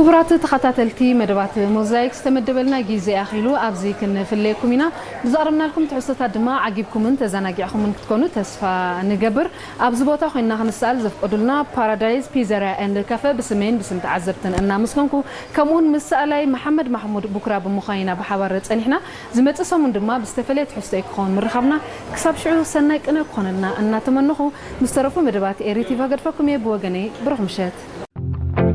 ክቡራት ተኸታተልቲ መደባት ሞዛይክ፣ ዝተመደበልና ግዜ ኣኺሉ ኣብዚ ክንፍለየኩም ኢና። ብዘቕረብናልኩም ትሕዝቶታት ድማ ዓጊብኩምን ተዘናጊዕኩምን ክትኮኑ ተስፋ ንገብር። ኣብዚ ቦታ ኮይንና ክንሰኣል ዘፍቀዱልና ፓራዳይዝ ፒዘርያ ኤንድ ካፈ ብስመይን ብስም ተዓዘብትን እናመስገንኩ፣ ከምኡውን ምስ ሰኣላይ መሓመድ ማሕሙድ ቡክራ ብምዃን ኢና ብሓባር ጸኒሕና። ዝመጽእ ሰሙን ድማ ብዝተፈለየ ትሕዝቶ እዩ ክኸውን ምርኻብና። ክሳብ ሽዑ ሰናይ ቅነ ክኾነልና እናተመነኹ፣ ምስ ተረፉ መደባት ኤሪ ቲቪ ገድፈኩም እየ። ብወገነይ ብሩኽ ምሸት።